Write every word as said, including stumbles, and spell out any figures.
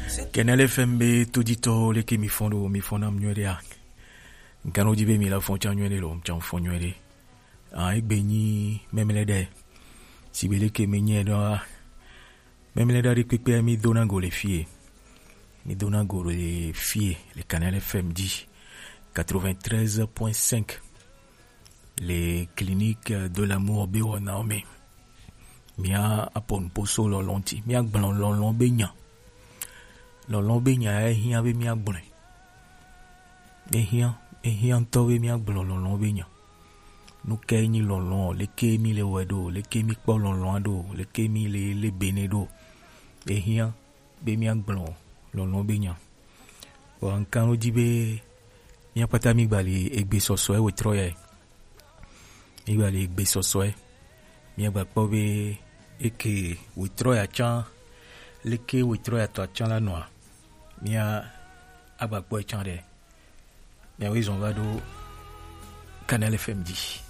Kanɛli F M be toditɔwo, leke mi fɔn ɖo? Mi fɔn nam nyuie ɖea? Ŋkan ɖo dzi be mi la fɔn tsa nyuie ɖe lo, tsa fɔn nyuie ɖe. Ah, egbe nyi mɛmlɛ ɖe. Si be leke mi nyɛ ɖoa, mɛmlɛ ɖa ɖe kpekpe mi dona go le fie. Mi dona go le fie le Kanɛli F M dzi. Quatre-vingt-treize point cinq. Le Clinique de l'amour be wɔnawo me. Mia apɔ nuƒo so lɔlɔ̃ ŋuti. Mia gblɔ lɔlɔ̃ be nya. Lɔlɔ̃ be nya ya hiã be mia gblɔe. Ehiã, ehiã ŋutɔ be mia gblɔ lɔlɔ̃ be nya. Nu kae nyi lɔlɔ̃? Leke mi le wɔe ɖo? Leke mi kpɔ lɔlɔ̃a ɖo? Leke mi le le bene ɖo? Ehiã be mia gblɔ lɔlɔ̃ be nya. Vɔ ŋkan ɖo dzi be mia kpata mi gba le egbe sɔsɔe wetrɔ ya. Mi gba le egbe sɔsɔe. Mia gba kpɔ be eke wetrɔ ya tsã, leke wetrɔ ya tɔ tsã la nɔa. Mia agba kpɔ tsã ɖe. Mia wo zɔn va ɖo Kanɛli F M dzi.